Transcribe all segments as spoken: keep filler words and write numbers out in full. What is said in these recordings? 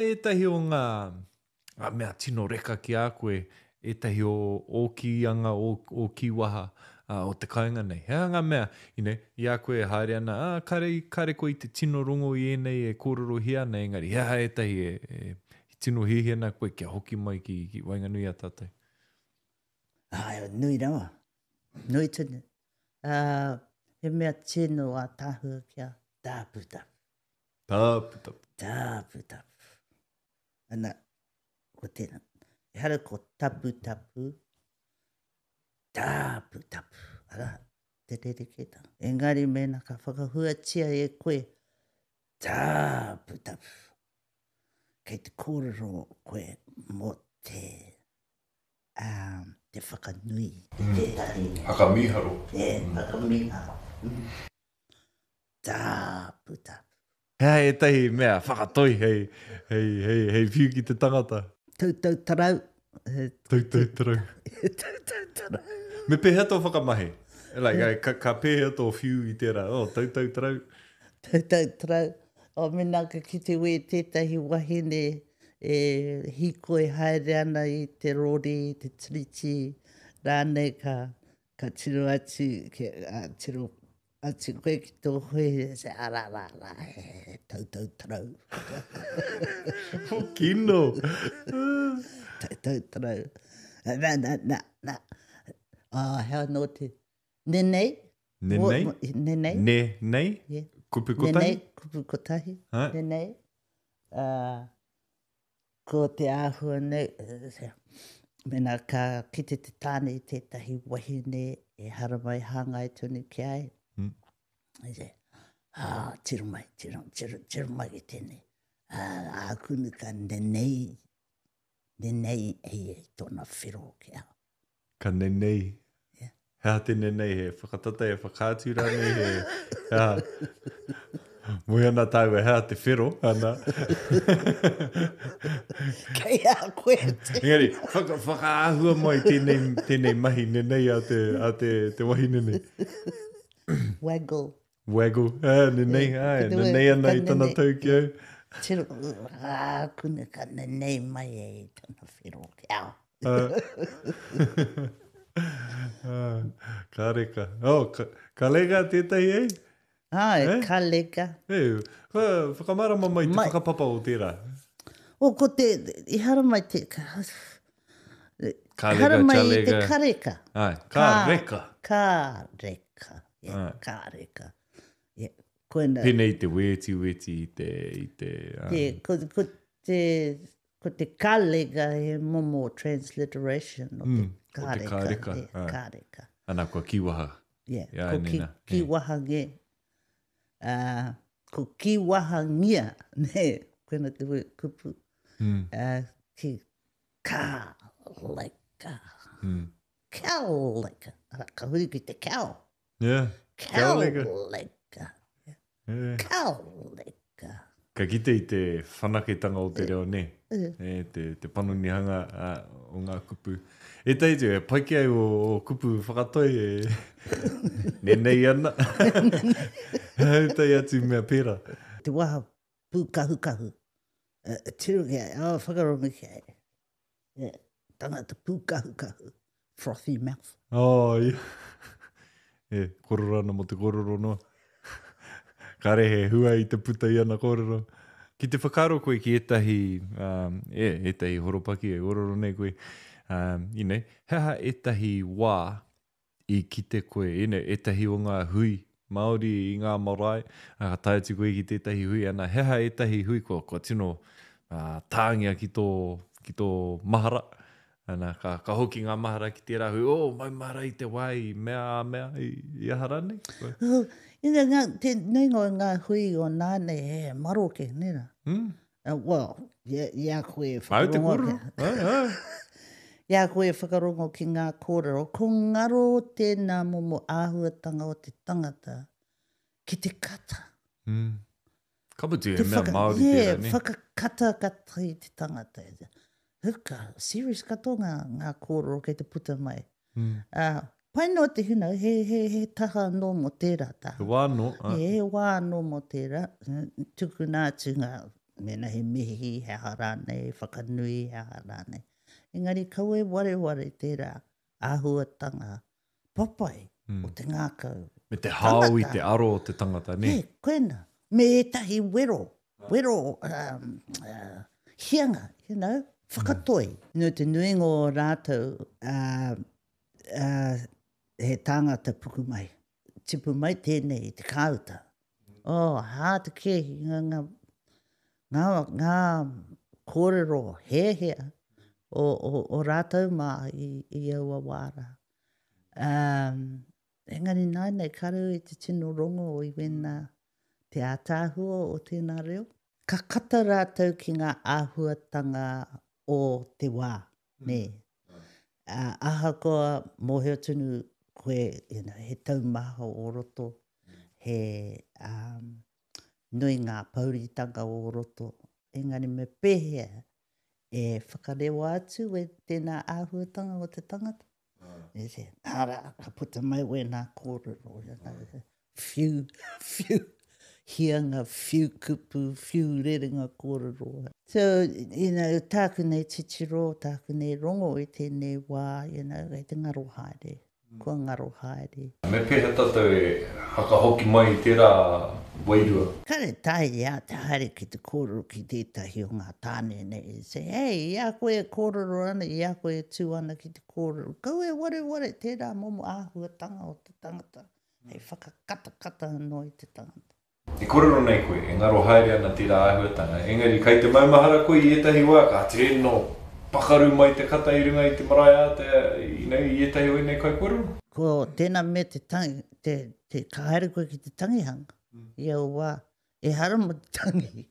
Ētahi o ngā, ngā mea tino reka ki a koe, ētahi o ō kīanga, ō, ō kīwaha uh, o te kāinga nei. He aha ngā mea, you know, i a koe e haere ana, ah, kare, kare koe i te tino rongo i ēnei e kōrerohia ana, engari he aha ētahi e, e, tino hiahia ana koe kia hoki mai ki, ki waenganui a tātou? Ai, nui rawa. Nui tonu. Uh, he mea tino ātaahua kia tāputapu. Tāputapu. Tāputapu. Ana, ko tēnā. Ehara ko taputapu, tāputapu. Arā, te rerekētanga. Engari mēnā ka whakahuatia e koe tāputapu. Kei te kōrero koe mō te, um, te whakanui. Mm. Tētahi. Whakamīharo. E, whakamīharo. Mm. Tāputapu. He aha ētahi mea whakatoi hei, hei, hei, hei whiu ki te tangata? Tautau tarau. Tautau tarau. Tautau tarau. Me pēhea tō whakamahi? Like, ka, ka pēhea tō whiu i tērā? Oh, tautau tarau. Tautau tarau. O, mēnā ka kite koe tētahi wahine e hīkoi haere ana i te rori, i te tiriti, rānei ka, ka tiro atu, ki, uh, tiro atu koe ki tō hoe, se ara rā rā, he tautau tarau. Oh, kino. Tautau tarau. Na, na, na, na. Ah, hea anō te... Nenei? Nenei? Nenei. Ne, nei? Yeah. Kupu kotahi? Nenei, kupu kotahi. Ha? Nenei. Uh, ko te āhua nei, mēnā ka kite te tāne i tētahi wahine e haramai hāngai tonu ki a ia. Mm. I se, ah, tiro mai, tiro, tiro, tiro mai ki tēnei. Ah, ākunu ka nenei, nenei e ia i tōna whero ki a. Ka nenei. Yeah. He aha te nenei, he whakatata, he whakaatu rānei, he, he aha. Moe ana tāua, he aha te whero, ana. Kei a koe te. Engari, whaka, whakaahua mai tēnei, tēnei mahi nenei a te, a te, te wahine nei. Waggle. Waggle, ah, nenei, Yeah, ai, ka te nenei wa- ana ka i tana nenei. tau ki au. Tiro, ākunu ka nenei mai e i tana whero ki au. Ah. Ah, ka reka. Oh, ka, ka reka tētahi e? Ai, Eh? ka reka. E, whakamārama mai te Mai. whakapapa o tērā. O, ko te, i haramai te, ka, Ka reka, haramai i te chalega. kareka. Ai, ka reka. Ka reka. Yeah, Ai. ka reka. Yeah, koina. Pēnei i te wēti wēti i te... I te, um, Te, ko, ko te, ko te kalega he momo transliteration o te Mm, o te kareka. ka reka, Yeah, ai. ka reka. Ana, kua kiwaha. Yeah, Yeah, ko ki, nena, yeah. kiwahange. Uh, ko kiwahangia, ne, koina te kupu. Mm. Uh, ki ka leka. Mm. Ka leka. Ara, ka huri ki te cow. Yeah. Cow leka. leka. Yeah. Cow leka. Ka kite i te whanaketanga o te reo, ne? Eh. E, te, te panonihanga uh, o ngā kupu. E tei tu, e pai ki au o, o kupu whakatoi e nenei ana. Hei tei atu mea pērā. Te waha pūkahukahu. Uh, tiro ki ai, oh, whakarongo ki ai. Yeah. Tangata pūkahukahu. Frothy mouth. Oh, yeah. E, kororo ana mo te kororo noa. Kare he hua i te puta i ana kōrero. Ki te whakaaro koe ki ētahi, um, e, ētahi horopaki e kōrero nei koe, um, you know, he aha ētahi wā i kite koe, you know, ētahi o ngā hui Māori i ngā marae, a, ka tae atu koe ki tētahi hui, ana, he aha ētahi hui kua, kua tino uh, tāngia ki tō, ki tō mahara, ana, ka, ka hoki ngā mahara ki tērā hui, oh, mau mahara i te wā i mea a mea, i, i aha rānei? Koe. Oh, you know, ngā, te nuinga o ngā hui o nāne he maroke, nē rā? Mm. Uh, well, i, i a koe e Au te whakarongo. kōrero. Ai, ai. I a koe e whakarongo ki ngā kōrero, ko ngaro tēnā momo āhuatanga o te tangata ki te kata. Mm. Ka mutu he Te mea whaka- Māori yeah, tērā, ne? whakakata kata i te tangata. Huka, serious katoa ngā, ngā kōrero kei te puta mai. Mm. Uh, pai noa te huna, he, he, he taha anō mō tērā taha. He wā anō. ai. He, he wā anō mō tērā, tukuna atu ngā, Mēnā he mihi, he aha rānei, whakanui, he aha rānei. Engari kaua e wareware tērā āhuatanga papai mm. o te ngākau. Me te hao i te aro o te tangata, nē? E, koena. Me ētahi wero, wero um, uh, hianga, you know, whakatoi. Mm. No te nuinga o rātou, uh, uh, he tāngata puku mai. Tipu mai tēnei i te kāuta. Oh, hā te kēhi, ngā, ngā, ngā, ngā kōrero hēhea o, o, o rātou mā i, i aua wā rā. Um, engari nāianei, kāre au i te tino rongo i wēnā te ātaahua o tēnā reo. Ka kata rātou ki ngā āhuatanga o te wā, nē. Uh, ahakoa mōhio tonu koe, you know, he taumaha o roto, he um, nui ngā pouritanga o roto, engari me pēhea e whakarewa atu e tēnā āhuatanga o te tangata. E te, arā, ka puta mai wēnā kōrero, you know, whiu, whiu, hianga, whiu kupu, whiu rerenga kōrero. So, you know, tāku nei titiro, tāku nei rongo i tēnei wā, you know, kei te ngaro haere, kua ngaro haere. Me pēhea tātou e whakahoki mai i tērā wairua? Kāre taea i a te haere ki te kōrero ki tētahi o ngā tāne nei, say, hey, i a koe e kōrero ana, i a koe e tū ana ki te kōrero, kaua e wareware tērā momo āhuatanga o te tangata, hei whakakatakata anō i te tangata. E kōrero nei koe, e ngaro haere ana tērā āhuatanga, engari kai te maumahara koe i ētahi wā, ka tino pakaru mai te kata i runga i te marae ātea, you know, i ētahi o ēnei kaikōrero? Ko tēnā mea te tangi, te, te, ka haere koe ki te tangihanga, i aua wā, ehara mō te tangi.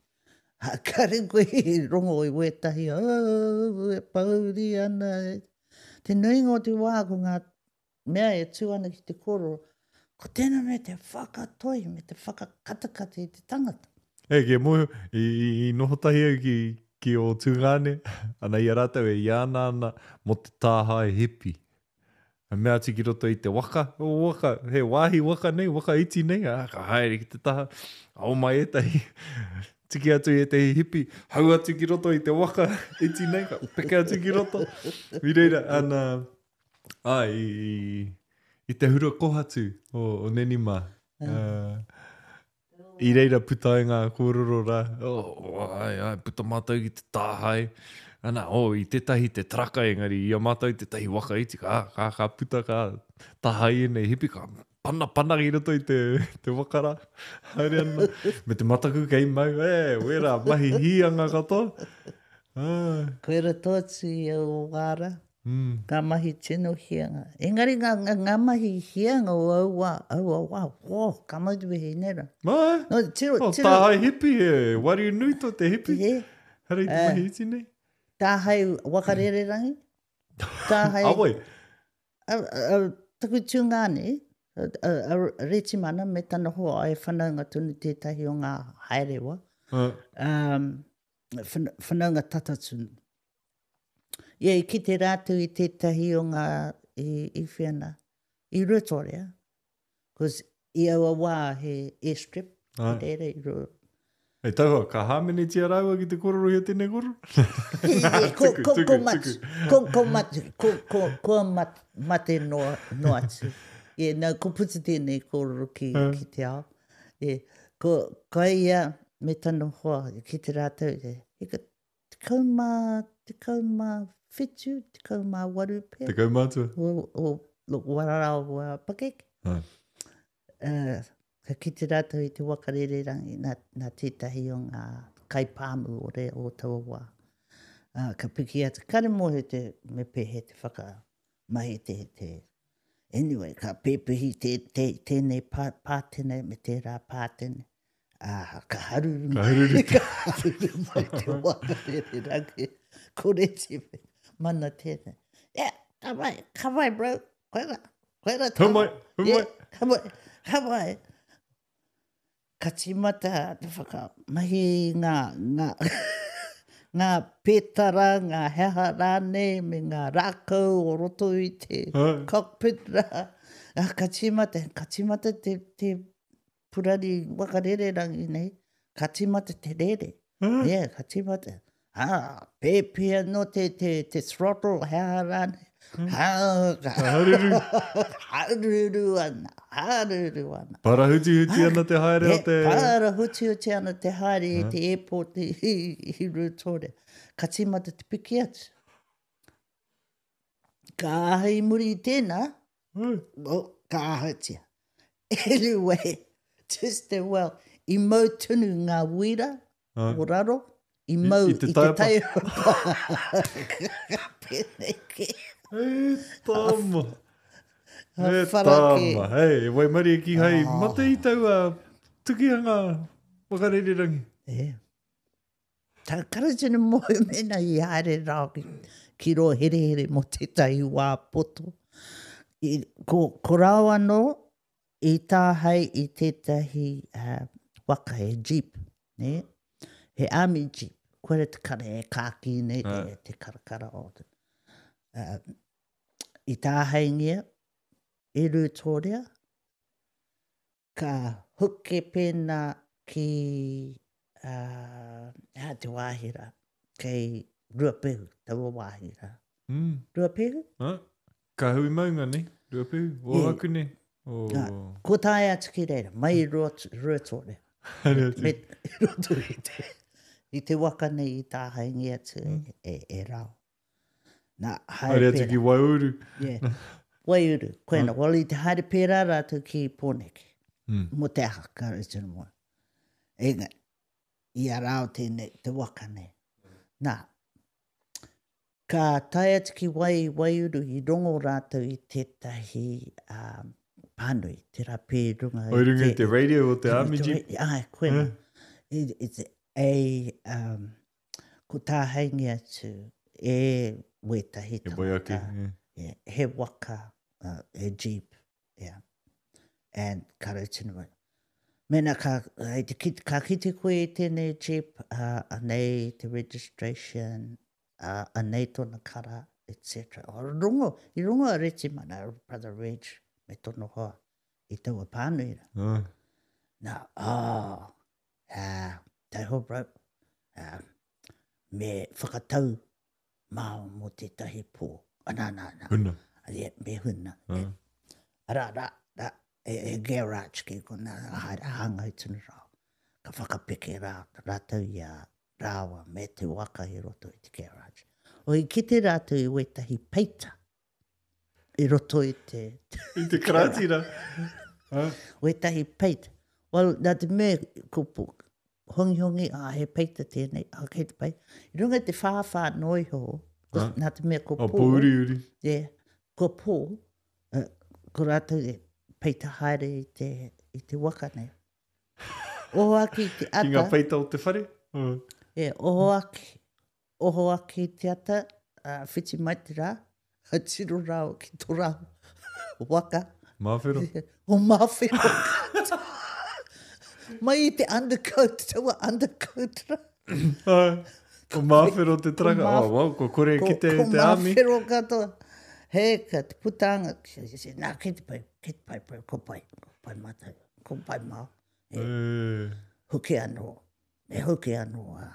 Ha, kāre koe i rongo i wētahi, oh, e pōuri ana. Te nuinga o te wā ko ngā mea e tū ana ki te kōrero, ko tēnā mea te whakatoi me te whakakatakata i te tangata. E, kia mōhio, i, i, i noho tahi au ki, ki ō tungāne, ana i a rātou e iāna ana mō te tāhae hipi. A mea atu ki roto i te waka, o waka, he wāhi waka nei, waka iti nei, a, ka haere ki te taha, ao mai ētahi, tiki atu i ētahi hipi, hau atu ki roto i te waka iti nei, ka peke atu ki roto. I reira, ana, ai, i, i te hura kohatu o, o Neni mā. Uh, i reira puta ai ngā kōrero rā, oh, ai, ai, puta mātou ki te tāhae. Ana, oh, i tētahi te traka engari, i a mātou tētahi waka iti, ka, ka, ka puta, ka tāhae ēnei hipi, ka pana pana ki roto i te, te waka rā. Haere ana, me te mataku kei mau, e, wera, mahi hīanga katoa. Ah. Koe rato atu i aua wā rā. Mm. Ngā mahi tino hianga. Engari ngā, ngā, ngā mahi hianga o aua, aua wā, oh, ka mau te wehi nei rā. Mai? No, tiro, Oh, tiro. tāhae hipi, he wariu nui tō te hipi. He. Hara i te Eh. mahi iti nei. Tāhae wakarererangi. Tāhae... Awai. A, a, a, taku tungāne, a, a, a Retimana me tana hoa e whanaunga tonu tētahi o ngā haerewa. Uh. Um, whanaunga tata tonu. Ia, i kite rātou i tētahi o ngā i, i whiana, i Ruatoria. Cause i aua wā he airstrip, Ai. i reira i Ru- Hei tauha, ka hāmenetia rāua ki te kororo i a tēnei kororo? Ko, Tuku, ko, tuku, ko matu, tuku. ko, ko matu, ko, ko, ko mat, mate noa, noa atu. Yeah, no, ko puta tēnei kōrero ki, ki te ao. Yeah, ko, ko ia me tana hoa ki te rātou, he ka tekau mā, tekau mā whitu, tekau mā waru pea. Tekau mātua. O, o, o wararau wa pakeke. Ai. Uh, ka kite rātou i te wakarererangi nā, nā tētahi o ngā kaipāmu o re o taua wā. Uh, ka piki atu, kare mōhio te me pēhea te whakamahi te, te anyway, ka pēpehi te, te, tēnei pā, pātene me tērā pātene. Ah, ka haruru Ka haruru. ka haruru mai te wakarererangi. Kore te mana tēnei. Yeah, ka mai, ka mai bro, koe rā, koe rā. Hau mai, hau mai. Yeah, ka mai, ka mai. Ka tīmata te whakamahi ngā, ngā, ngā pētara, ngā heha rānei, me ngā rākau o roto i te Ai. cockpit rā. Ah, ka tīmata, ka tīmata te, te purari wakarererangi nei, ka tīmata te rere. Yeah, ka tīmata. Ah, pēpi anō te, te, te throttle, he aha rānei. Ha, ka, Haruru. haruru ana, haruru ana. Parahutihuti ana te haere o He te... parahutihuti ana te haere i te airport i, i, i Ruatoria. Ka tīmata te piki atu. Ka aha i muri i tēnā, oh, ka ahatia. Anyway, just as well, i mau tonu ngā wira Ah. o raro, i mau i i te te taiapa. taiapa. Pēnei ke. E tama. E wharake. tama. Hei, e waimarie ki hai mate i taua tukihanga whakarererangi. E. Tā karatini moe mena i haere rā ki, ki rō herehere mō tētahi wā poto. I, ko, ko rau anō i tāhei i tētahi uh, waka, he jeep, ne? He army jeep. Koe te kare e kāki nei, te, te karakara o te. Uh, i tāheingia, i Ruatoria, ka huke pēnā ki uh, hea te wāhi rā, kei Ruapehu, taua wāhi rā. Mm. Ruapehu? Ha? Ka hui maunga, ne? Ruapehu, o Yeah. aku ne? O... Ko tae atu ki reira, mai i Ruat- Ruatoria. Haere atu. Me i roto i te, i te waka nei i tāhaingi atu e, e, e rau. Nā, haere Haere atu pērā. ki Waiuru. Yeah. Waiuru, koena. Well, i te haere pērā rātou ki Pōneke. Mm. Mō te aha, ka tino moe. Enga, i a rāo tēnei, te waka nei. Nā, ka tae atu ki wai, Waiuru, i rongo rātou i tētahi um, pānui, te rā pē runga O runga i te radio o te army jeep. Ai, koena. It, it's a, um, ko tāheingi atu e wētahi E wai ake. tangata. yeah. Yeah, he waka, uh, he jeep, yeah. And ka rautinu mai. Mena ka, hei te kite, ka kite koe i tēnei jeep, uh, anei te registration, uh, anei tōna kara, et cetera. O, rongo, i rongo a Retimana, Brother Reg, me tōna hoa, i taua pānui rā. Ah. Nā, oh, uh, taiho bro, uh, me whakatau māo mō tētahi pō. Ah, nā, nā, nā. Huna. Yeah, me huna. Ah. Rā, rā, rā, e, e garage ki kona, haere hāngai tunu rā. Ka whakapeke rā, rātou i a rāua me te waka i roto i te garage. O i kite rātou i wētahi peita i roto i te, I te karāti rā. Ah. wētahi peita. Well, nā te mea, ko po, hongi hongi, ah, he peita tēnei, ah, kei te pai. I runga i te whāwhā noa iho, ko, Ah. nā te mea ko O pō, pōuriuri. yeah, ko pō, uh, ko rātou e peita haere i te, i te waka nei. Oho ake i te Ki ngā ata, peita o te whare. Oh. e, oho ake, oho ake i te ata, uh, whiti mai te rā, a tiro rāo ki tō rāo waka. Māwhero. O māwhero. Mai i te undercoat, taua undercoat rā. Ah. Ko māwhero te traka. Ko mā- Oh, wow, ko kore Ko, ki te, ko te army. māwhero katoa. He, ka te putanga. Nā, kei te pai, kei te pai, pai, ko pai, ko pai mātou, ko pai mā. Eh. Hoki anō, e hoki anō a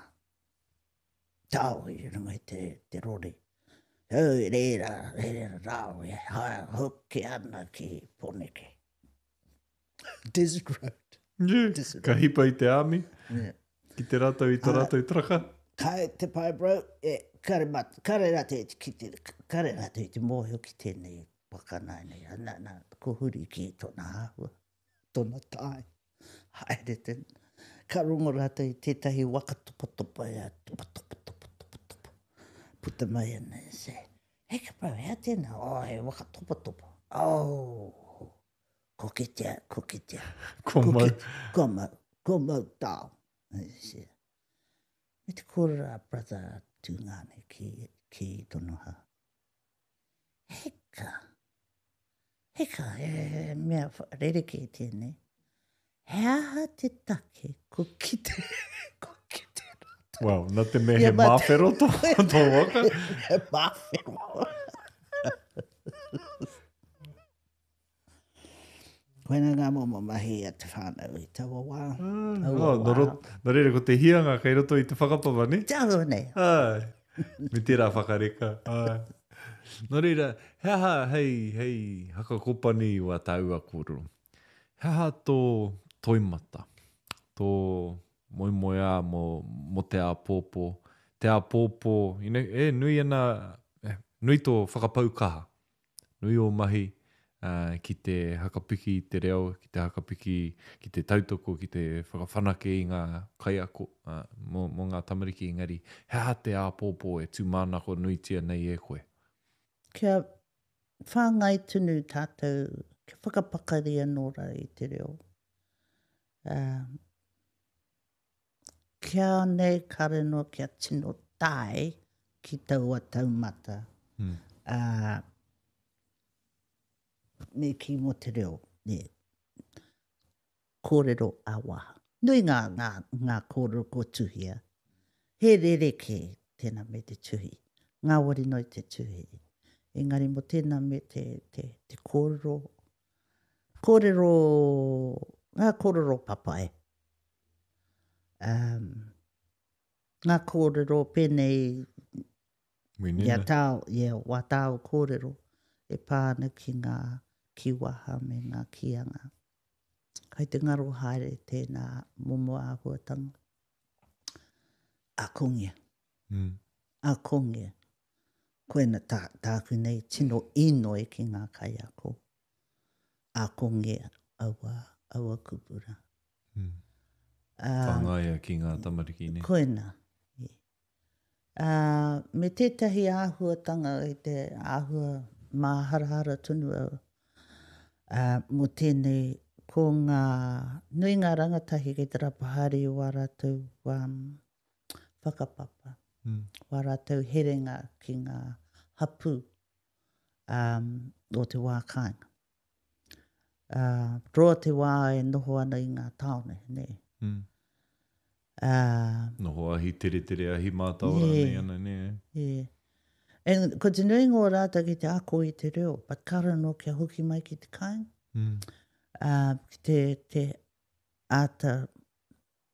tao i runga i te, te rori. Hau, reira, reira rāo, e hae, hoki ana ki Pōneke. Desert Road. Yeah. Desert Ka hipa i te army. Yeah. Ki te rātou i tō rātou traka. Kai te pai bro, e, kare, mat, kare rātou i te kite, kare rātou i te mōhio ki tēnei waka nā nei. Nā, nā, ko huri ki tōna āhua, tōna tai. Haere te, ka rongo rātou i tētahi waka topa topa e, topa topa topa topa topa. Puta mai ana e se, hei ka bro, hea tēnā? Oh, he waka topa topa. Oh, ko kitea, ko kitea. Ko Ko mau. ki- Ko mau, ko mau tao. E se, Me te kōrero a brother Tūngane ki, ki Tonoha. Heka, heka, he, he mea rerekē tēnei. He aha te take ko kite, ko kite rātou. Well, nā te mea he Yeah, but- māwhero tō, tō waka. He māwhero. Koina ngā momo mahi a te whānau i taua wā. Ah, Taua oh, nō rot, nō reira ko te hianga kei roto i te whakapapa, ne? Te āhua nei. Ai, me tērā whakareka. Ai. Nō reira, he aha hei, hei hakakopani i wā tāua kōrero? He aha tō toimata, tō moemoeā mō, mō te āpōpō? Te āpōpō, you know, e nui ana, eh, nui tō whakapau kaha, nui ō mahi uh, ki te hakapiki i te reo, ki te hakapiki, ki te tautoko, ki te whakawhanake i ngā kaiako uh, mō, mō ngā tamariki engari. He aha te āpōpō e tūmanako nuitia nei e koe? Kia whāngai tonu tātou, kia whakapakari anō rā i te reo. Uh, kia nei kare noa kia tino tae ki taua taumata. Mm. Uh, me ki mō te reo, ne. Kōrero a waha. Nui ngā, ngā, ngā kōrero ko tuhia. He rerekē tēnā me te tuhi. Ngāwari noi te tuhi. Engari mō tēnā me te, te, te kōrero, kōrero, ngā kōrero papai. Um, ngā kōrero pēnei Winina. ia tāo, ia wā tāo kōrero e pā ana ki ngā kiwaha me ngā kīanga. Kai te ngaro haere tēnā momo āhuatanga. Akongia. Mm. Akongia. Koina tā, tāku nei tino inoi ki ngā kaiako. Akongia aua, aua kupura. Mm. Uh, Whangaia ki ngā tamariki, ne? Koina. Uh, me tētahi āhuatanga i te āhua māharahara tonu au. Uh, mō tēnei, ko ngā, nui ngā rangatahi kei te rapa haere i wā rātou um, whakapapa, Mm. wā rātou herenga ki ngā hapū um, o te wā kāinga. Uh, roa te wā e noho ana i ngā tāone, ne? Mm. Uh, Noho ahi tere tere ahi mātaora Yeah. nei ana, ne? Yeah. And ko te nuinga o rātou ki te ako i te reo, but kara no kia hoki mai ki te kāinga. Mm. Uh, ki te, te āta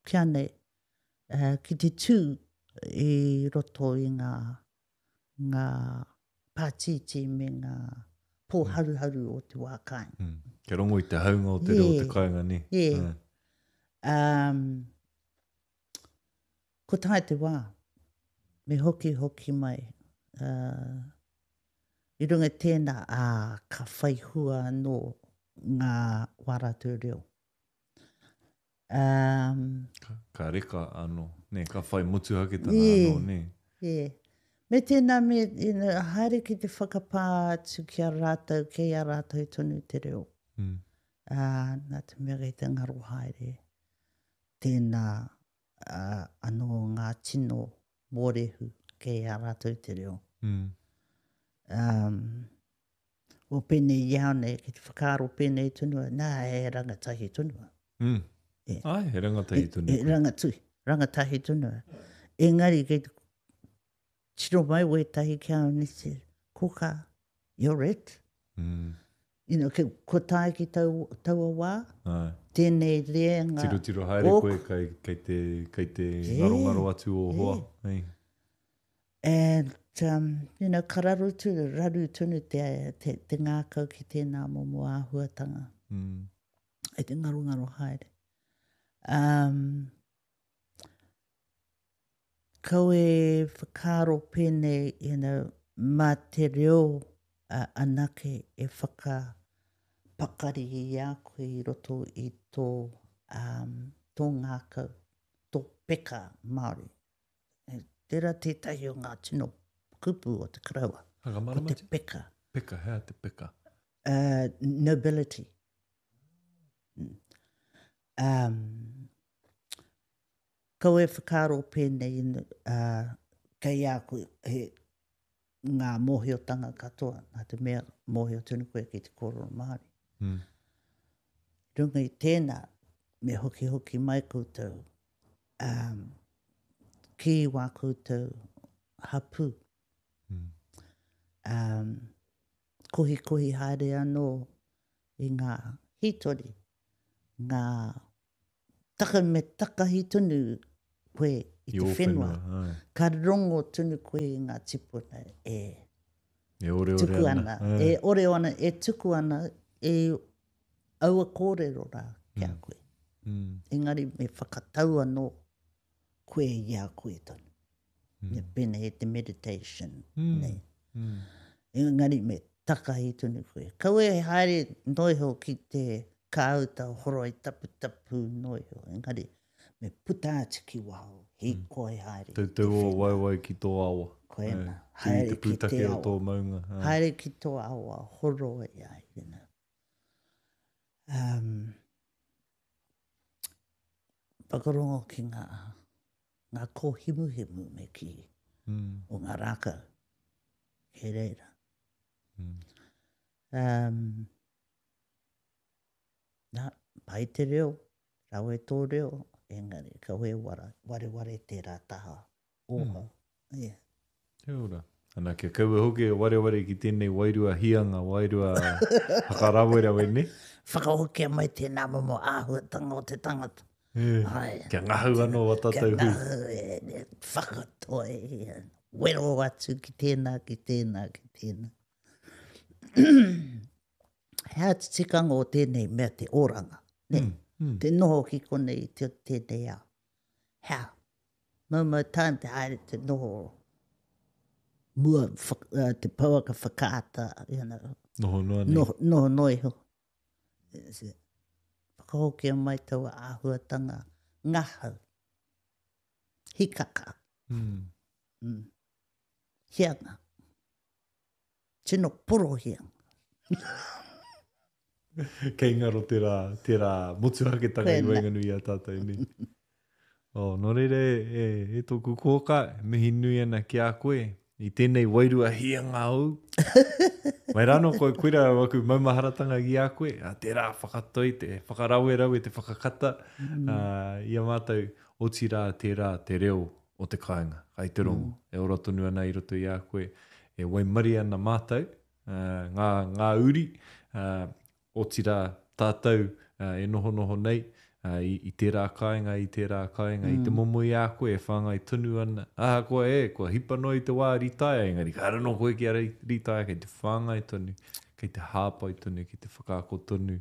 kia nei, uh, ki te tū i roto i ngā, ngā pātītī me ngā pōharuharu o te wā kāinga. Mm. Kia rongo i te haunga o te reo o te Yeah. kāinga, ne? Yeah. Ah. Um, ko tae te wā, me hoki hoki mai. Uh, I runga i tēnā, ā, ka whai hua anō ngā wā rātou reo. Um, Ka, ka reka anō, ne? Ka whai motuhaketanga Yeah. anō, ne? yeah. Me tēnā, me, you know, haere ki te whakapā atu ki a rātou, kei a rātou tonu te reo. Mm. Uh, nā te mea kei te ngaro haere. Tēnā uh, anō ngā tino mōrehu kei a rātou te reo. Mm. Um, o pēnei i au nei, ki te whakaaro pēnei tonu, nā, e rangatahi tonu. Mm. Yeah. Ai, he rangatahi tonu. E, e rangatu, rangatahi tonu. Engari, kei te tiro mai wētahi ki au ni te, koka, you're it. Mm. You know, ke, ko tae ki tau, taua wā, Ai. tēnei reanga. Tiro tiro haere Ōku. koe kei, kei te, kei te Yeah. ngarongaro atu o hoa. Hey. And, um, you know, ka raru tonu, raru tonu te, te, te ngākau ki tēnā momo āhuatanga. Mm. E te ngarongaro haere. Um, kau e whakaaro pēnei, you know, mā te reo uh, anake e whakapakari i a koe i roto i tō, um, tō ngākau, tō peka Māori. E, Tērā tētahi o ngā tino kupu o te karaua, ko Whakamarama te te peka. peka, hea te peka. Uh, nobility. Mm. Um, kau e whakaaro pēnei, uh, kei a koe he ngā mōhiotanga katoa, nā te mea mōhio tonu koe ki te kōrero Māori. Mm. Runga i tēnā, me hoki hoki mai koutou, um, ki wā koutou hapū. Mm. Um, kohi kohi haere anō i ngā Hītori, ngā taka me takahi tonu koe i te whenua. Whenua ka rongo tonu koe i ngā tipuna e, e ore ore tuku ana. ana. E ore ana, e tuku ana, e aua kōrero rā ki a mm. koe. Mm. Engari me whakatau anō koe i a koe tonu. Mm. Me pēnei te meditation. Mm. Nei. Mm. Engari me takahi tonu koe. Kaua e haere noiho ki te kāuta horoi taputapu noiho. Engari me puta atu ki waho, hīkoi haere. Tautau o waewae ki tō awa. Koena, Eh, haere te ki te pūtake o awa. tō maunga. Eh. Haere ki tō awa, horoi ai, you know. Um, whakarongo ki ngā, ngā kōhimuhimu me ki Mm. o ngā rākau. He reira. Mm. Um, nā, pai te reo, rawe tō reo, engari, kawe wara, wareware tērā taha, oha. Mm. Yeah. Kia ora. Ana, kia kaua hoki e wareware ki tēnei wairua hianga, wairua whakarawerawe, ne? Whakahokia mai tēnā momo āhuatanga o te tangata. E, Ai. kia ngahau anō wa Kia tātou hui. ngahau, e, e, whakatoe, e, wero atu ki tēnā, ki tēnā, ki tēnā. He atu tikanga o tēnei mea te oranga. Ne? Mm, mm. Te noho ki konei te tēnei ao. Hea, maumau time te haere te noho mua whak, uh, te pouaka whakaata, you know, Noho noa nei. noho, noho noa iho. Whakahokia mai taua āhuatanga ngahau. Hikaka. Mm. Mm. Hianga. Tino poro hianga. Kei ngaro tērā, tērā motuhaketanga i Koena. waenganui i a tātou nei. Oh, nō reira e, e, e tōku kōka, mihi nui ana ki a koe i tēnei wairua hianga au. Mai rānō koe koira waku maumaharatanga ki a koe, a tērā whakatoi, te whakarawerawe, te whakakata, mm. uh, i a mātou, otirā tērā te reo o te kāinga, kai te rongo, mm. e ora tonu ana i roto i a koe, e waimari ana mātou, uh, ngā, ngā uri, uh, otirā tātou uh, e nohonoho nei, uh, i, i tērā kāinga, i tērā kāinga, mm. i te momo i a koe e whāngai tonu ana. Ahakoa e, kua hipa noa i te wā ritaia, engari ka anō koe ki a ritaia, kei te whāngai tonu, kei te hāpai tonu, kei te whakaako tonu.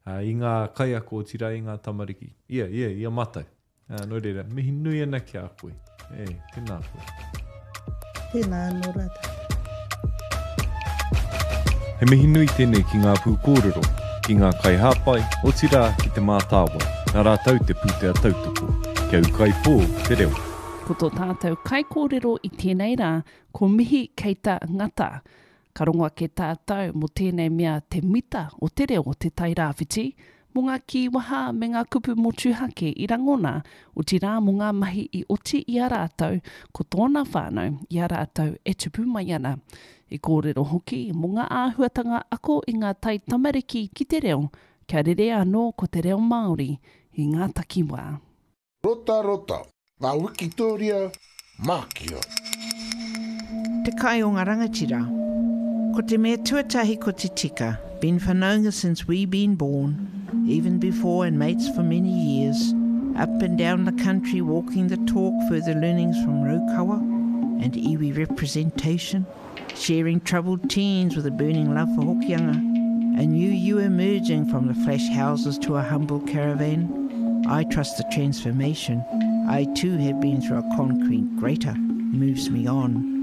Uh, i ngā kaiako, otirā i ngā tamariki. Ia, ia, ia mātou. Uh, nō reira, mihi nui ana ki a koe. E, tēnā koe. Tēnā anō rā tātou. He mihi nui tēnei ki ngā pūkōrero, ki ngā kaihāpai, otirā ki te mātāwai, nā rātou te pūtea tautoko, kia ūkaipō te reo. Ko tō tātou kaikōrero i tēnei rā, ko Mihi Keita Ngata. Ka rongo ake tātou mō tēnei mea te mita o te reo o te Tairāwhiti, mō ngā kīwaha me ngā kupu motuhake i rangona, otirā mō ngā mahi i oti i a rātou, ko tōna whānau i a rātou e tupu mai ana. I kōrero hoki mō ngā āhuatanga ako i ngā tai tamariki ki te reo, kia rere anō ko te reo Māori i ngā takiwā. Rota rota, ngā Wikitoria, Mākia. Te kai o ngā rangatira. Ko te mea tuatahi ko te tika, been whanaunga since we been born, even before and mates for many years, up and down the country walking the talk, further learnings from Raukawa and iwi representation, sharing troubled teens with a burning love for Hokianga, a new you emerging from the flash houses to a humble caravan. I trust the transformation. I too have been through a concrete grater, moves me on.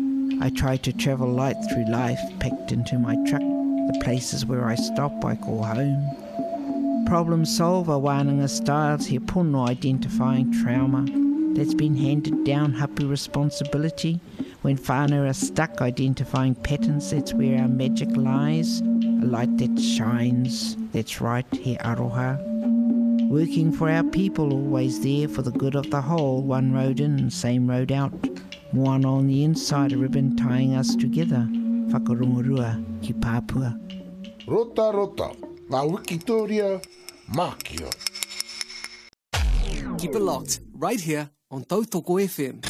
I try to travel light through life, packed into my truck. The places where I stop I call home. Problem solver wānanga styles he pono identifying trauma that's been handed down hapu responsibility. When whānau are stuck identifying patterns, that's where our magic lies. A light that shines, that's right, he aroha. Working for our people, always there for the good of the whole, one road in, same road out. Moana on the inside, a ribbon tying us together. Whakarongorua ki Papua. Rota rota, ngā Wikitoria, Mākia. Keep it locked right here on Tautoko F M.